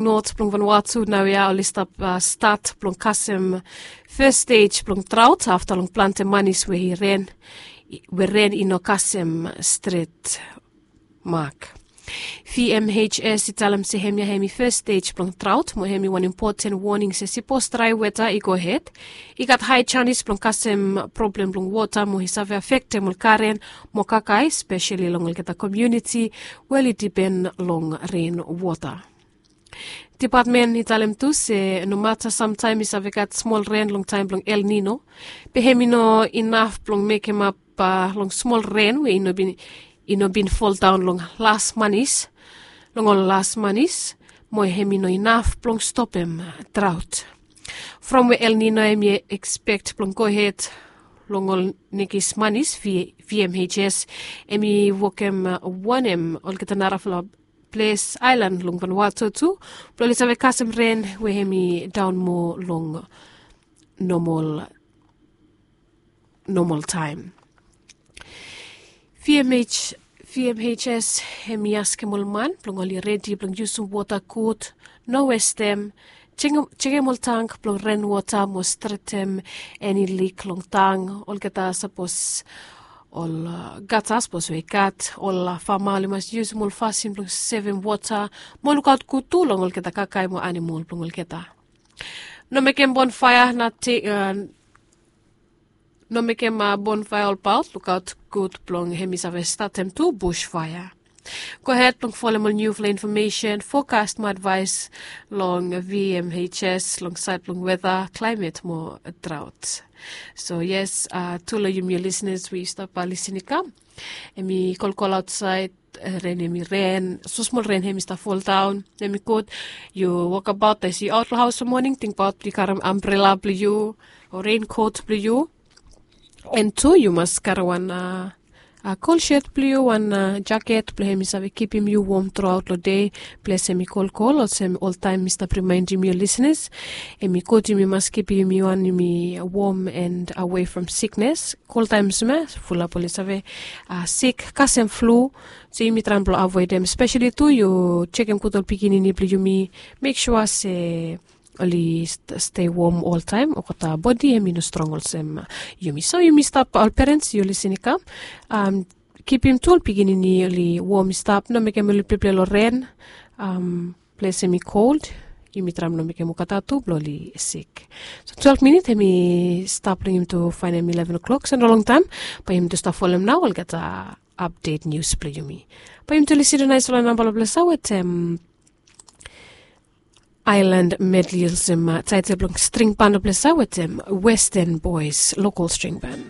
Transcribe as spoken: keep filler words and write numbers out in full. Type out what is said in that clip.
Not blong Vanuatu naoia oli stap stat blong kasem fes stej blong draot afta long plante manis we i ren we ren i no kasem stret mak. V M H S i talem se hemia hemi fes stej blong draot mo hemi wan impoten woning se sipos drae weta i gohed, i gat hae janis blong kasem problem blong wota mo i save afektem ol garen mo kakae speseli long olgeta komiuniti we oli dipen long ren wota. Depatmen i talem tu se nomata samtaem i save gat smol ren long taem blong El Nino, be hem i no inaf blong mekemap long smol ren we i no bin foldaon long las manis, long ol las manis, mo hem i no inaf blong stopem draot. From we El Nino hem i ekspekt blong gohed long ol nekis manis, V M H S hem i wokem wanem olgeta narafala ples aelan long Vanuatu tu blong oli save kasem ren we hem i daon moa long nomol nomol taem. V M H V M H S hem i askem ol man blong oli redi blong yusum wota gud, no westem, jekem ol tank blong ren wota mo stretem eni lik long tang olgeta sapos ol gata sapos we i gat ol fama oli mas yusum ol fasin blong sevem wota mo lukaot gud tu long olgeta kakae mo anamol blong olgeta. No mekem bonfaea nating, no mekem bonfaea olbaot lukaot gud blong hem i save statem tu busfaea. Gohed blong folem ol niufala infomesen fokas mo advaes long V M H S long saed blong weta klaemet mo draot. So yes, tu long yumi ol lisnes we yu stap lisin i kam, hem i kolkol aotsaed, ren hem i ren, smosmol ren hem i stap foldaon, hem i gud. Yu wokabaot, yu aot long haos long moning, tingbaot blong yu karem ambrela blong yu o renkot blong yu. An tu yu mas karem wan kol set blong yu, wan jaket blong hem i save kipim yu wom truaot long dei. Ples hem i kolkol olsem oltaem mi stap rimaendim yu lisnes, hem i gud yumi mas kipim yumi wan yumi wom an awe from siknes. Koltaem olsem ya fulap oli save sik kasem flu. So yumi traem blong avoedem speseli tu yu jekem gud ol pikinini blong yumi, mek sua se oli stei wom oltaem olgeta bodi hem i no strong olsem yumi. So yumi stap ol perens yu lisin i kam, kipim tu ol pikinini oli wom i stap, no mekem oli pleple long ren. Ples hem i kold, yumi traem no mekem olgeta tu blong oli sik. So twelve minit hem i stap long yumi tu faenem eleven o'clock, so no longtaem bae yumi tu stap folem nao olgeta apdet nius blong yumi. Bae yumi tu lisin long naesfala namba long ples ya wetem aelan medli olsem taetel blong string ban long ples ya wetem Western Boys Local String Ban.